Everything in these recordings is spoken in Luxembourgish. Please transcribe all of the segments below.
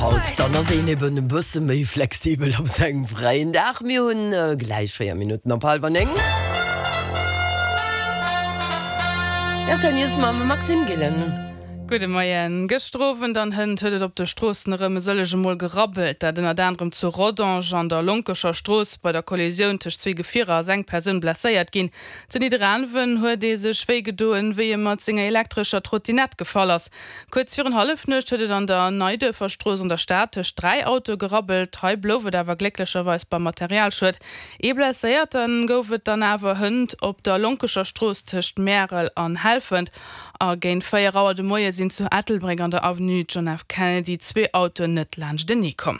haut, dann ass een eben e bësse méi flexibel op sengem fräien Dag. Mir hunn gläich 4 Minutten op hallwer 9. Rtl News mam Maxime Gillen. Gudde Moien. Gëschter Owend an hënt huet et op de Stroossen erëm e sëllege Mol gerabbelt. Dat ënnert anerem zu Rodange an der Lonkescher Strooss. Bei der Kollisioun tëscht zwee Gefierer ass eng Persoun blesséiert ginn. Zu Nidderaanwen huet ee sech wéi gedoen, wéi e mat senger elektrescher Trottinett gefall ass. Kuerz virun Hallefnuecht huet et an der Neiduerfer Strooss an der Stad tëscht 3 Autoe gerabbelt. Hei blouf et awer glécklecherweis beim Materialschued. Ee Blesséierte gouf et dann awer hënt op der Lonkescher Strooss tëscht Märel an Helfent. A géint 4 Auer de Moie sinn zu Ettelbréck an der Avenue John F. Kennedy zwee Autoen net laanschtenee komm.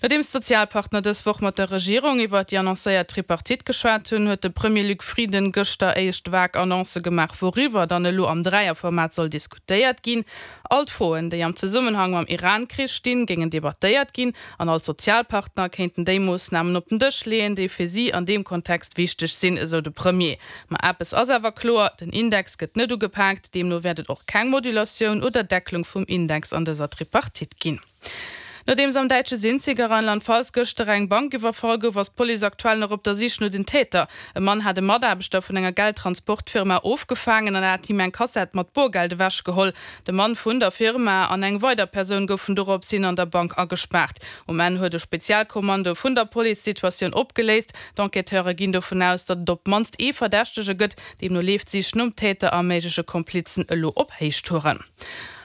Nodeems d'Sozialpartner dës Woch mat der Regierung iwwer déi annoncéiert Tripartite geschwat hunn, huet de Premier Luc Frieden gëschter éischt vag Annoncë gemaach, wouriwwer dann elo am Dräierformat soll diskutéiert ginn. All d'Froen, déi am Zesummenhang mam Iran-Krich stinn, géingen debattéiert ginn an all d'Sozialpartner kéinten déi Moossnamen op den Dësch leeën, déi fir si an deem Kontext wichteg sinn, esou de Premier. Ma eppes ass awer kloer, Den Index gëtt net ugepaakt, deemno wäert et och keng Modulatioun oder Decklung vum Index an dëser Tripartite ginn. Nodeems am däitsche Sinzig a Rheinland-Pfalz gëschter eng Bank iwwerfall gouf, ass d'Police aktuell nach op der Sich no den Täter. E Mann hat e Mataarbechter vun enger Geldtransportfirma ofgefaangen an hat him eng Kassett mat Borgeld ewechgeholl. De Mann vun der Firma an eng weider Persoun goufen dorops hin an der Bank agespaart. Um Enn huet e Spezialkommando vun der Police d'Situatioun opgeléist. D'Enquêteure ginn dovun aus, datt et op d'mannst ee Verdächtege gëtt. Deemno leeft d'Sich nom Täter a méigleche Komplizen elo op Héichtouren.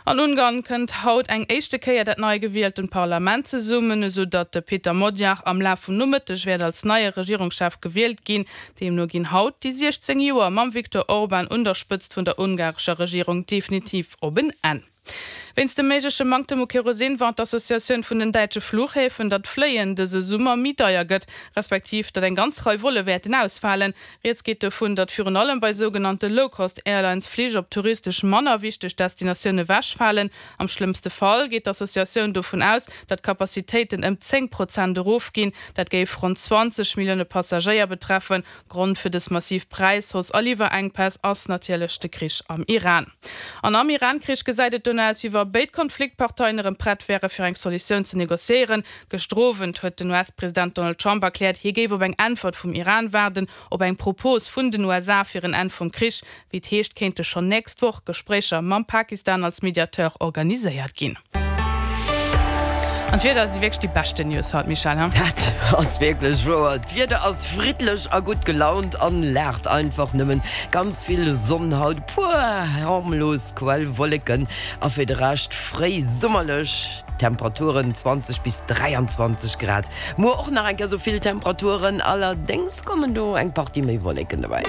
An Ungarn kënnt haut eng éischte Kéier dat nei gewieltent Parlament zesummen, esou datt de Peter Magyar am Laf vum Nomëtteg wäert als neie Regierungschef gewielt ginn. Deemno ginn haut déi 16 Joer mam Viktor Orban un der Spëtzt vun der ungarescher Regierung definitiv op en Enn. Wéinst dem méigleche Manktem u Kerosin warnt d'Associatioun vun den däitsche Fluchhäfen, datt d'Fléien dëse Summer méi deier gëtt, respektiv datt eng ganz Rei Volle wäerten ausfalen. Rieds geet dovun, datt virun allem bei sougenannte Low-Cost-Airlines Flich op touristesch manner wichteg Destinatioune wechfalen. Am schlëmmste Fall geet d'Associatioun dovun aus, datt d'Capacitéiten ëm 10 Prozent erofginn. Dat géif ronn 20 Millioune Passagéier betreffen. Grond fir dës massiv Präishausse a Liwwerenkpäss ass natierlech de Krich am Iran. An am Iran-Krich gesäit et dono aus, wéi wa béid Konfliktparteien erëm prett wäre fir eng Solutioun ze negociéieren. Gëschter Owend huet den US-President Donald Trump erkläert, hie géif op eng Äntwert vum Iran waarden, op eng Propos vun den USA fir en Enn vum Krich. Wéi et heescht, kéinte schonn nächst Woch Gespréicher mam Pakistan als Mediateur organiséiert ginn. An d'Wieder si wierklech déi beschten News haut, Michèle, he? Dat ass wierklech wouer. D'Wieder ass friddlech a gutt gelaunt an laacht einfach nëmmen. Ganz vill Sonn haut, e puer harmlos Quellwolleken a fir de Rescht fréi summerlech. Temperaturen 20 bis 23 Grad. Muer och nach eng Kéier sou vill Temperaturen, allerdéngs kommen do eng Partie méi Wolleken dobäi.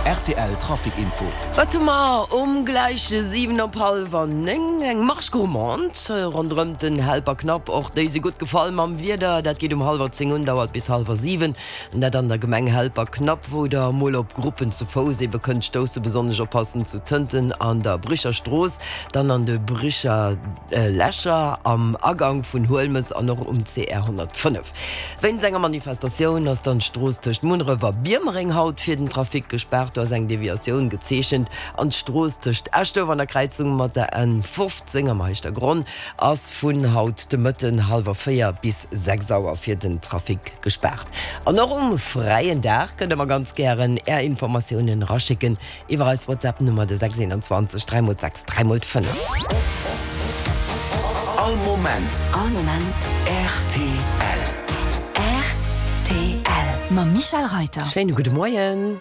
Rtl Trafic Info. Wat hu mer um gläich 7 op hallwer 9? Eng Marche gourmande ronderëmt den Helperknapp. Och déi si gutt gefall mam Wieder. Dat geet um hallwer 10 un, dauert bis hallwer 7. An dat an der Gemeng Helperknapp, wou der emol op Gruppen zu Fouss ebe kënnt stoussen. Besonnesch oppassen zu Tënten an der Bricher Strooss, dann an de Bricher Lächer, am Agang vun Huelmes an och um CR 105. Wéinst enger Manifestatioun ass dann d'Strooss tëscht Munneref a Biermereng haut fir den Trafic gespaart. Do ass eng Deviatioun gezeechent an d'Strooss tëscht Eschduerf an der Kräizung mat der N 15 am Heischtergronn ass vun haut de Mëtten hallwer 4 bis 6 Auer fir den Trafic gespaart. An och um fräien Dag kënnt der mer ganz gären är Informatiounen eraschécken iwwer eis WhatsApp Nummer de 6 21 3 x 6 3 x 5. All Moment. All Moment. Rtl. Rtl. Mam Michèle Reiter. Schéine gudde Moien.